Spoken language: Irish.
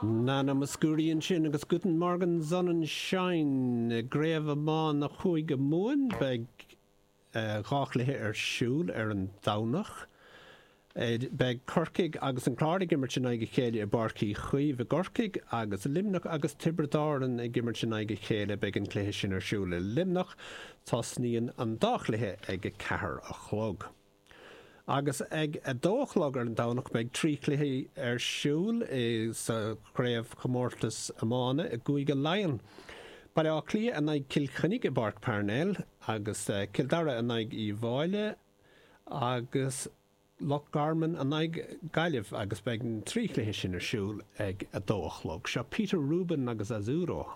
Nana Mouskouri ansin agus Guten Morgen Sonnenschein i gCraobh Iomána Chúige Mumhan. Beidh 2 chluiche ar siúl ar an Domhnach. Beidh Corcaigh agus an Clár ag imirt in aghaidh a chéile i bPáirc Uí Chaoimh i gCorcaigh agus Luimneach agus Tiobraid Árann ag imirt in aghaidh a chéile. Beidh an cluiche sin ar siúl i Luimneach. Tosnaíonn an dá chluiche ag 4 a chlog. Agus ag 2 a chlog ar an Domhnach beidh 3 chluiche ar siúl sa chraobhchomórtas iomána i gCúige Laighean. Baile Átha Cliath in aghaidh Cill Chainnigh i bPáirc Parnell agus Cill Dara in aghaidh Uíbh Fhailí agus Loch Garman in aghaidh Gaillimh agus beidh na 3 chluiche sin ar siúl ag 2 a chlog. Seo Peter Rubin agus Azzurro.